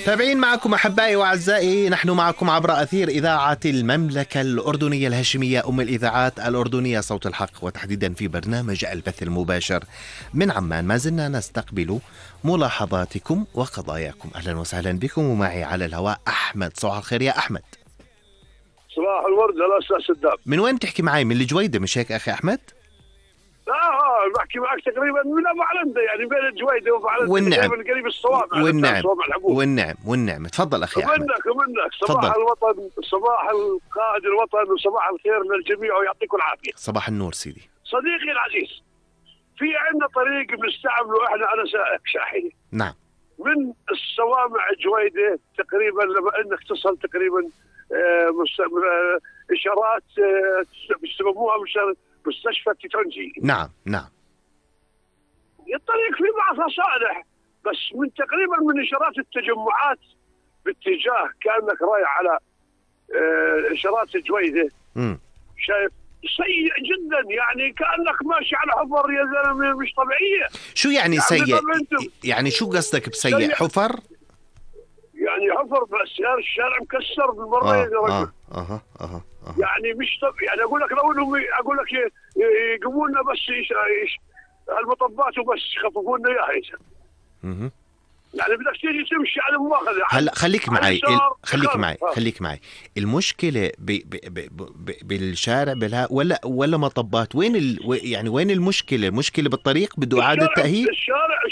تابعين معكم أحبائي وأعزائي، نحن معكم عبر أثير إذاعة المملكة الأردنية الهاشمية أم الإذاعات الأردنية صوت الحق، وتحديدا في برنامج البث المباشر من عمان. ما زلنا نستقبل ملاحظاتكم وقضاياكم. أهلا وسهلا بكم، ومعي على الهواء أحمد. صباح الخير يا أحمد. صباح الورد يا أستاذ سداد. من وين تحكي معي؟ من الجويدة مش هيك أخي أحمد؟ بحكي معك تقريبا من أبو علندة، يعني بين الجويدة وأبو علندة والنعم قريب الصوامع. والنعم تفضل أخي أحمد. ومنك صباح الوطن، صباح القائد الوطن، وصباح الخير للجميع ويعطيكم العافية. صباح النور سيدي. صديقي العزيز، في عندنا طريق بنستعمله احنا، أنا سائق شاحنة. نعم. من الصوامع الجويدة تقريبا لما انك تصل تقريبا إشارات بيسموها مستشفى التيتونجي. نعم. الطريق فيه بعضها صالح، بس من تقريبا من إشارات التجمعات باتجاه كأنك رايح على إشارات الجويدة. شايف سيء جدا، يعني كأنك ماشي على حفر يا زلمة، مش طبيعية. شو يعني سيء؟ يعني شو قصدك بسيء؟ حفر؟ يعني حفر، بس الشارع مكسر بالمرة يا رجل. يعني مش يعني اقول لك لو انهم اقول لك يقوموا لنا بس المطبات وبس يخففوا لنا اياها. يعني بدك تيجي تمشي على مؤاخذة. هلا خليك معي. المشكلة بالشارع ولا مطبات؟ وين يعني وين المشكلة؟ المشكلة بالطريق بده إعادة تأهيل؟ الشارع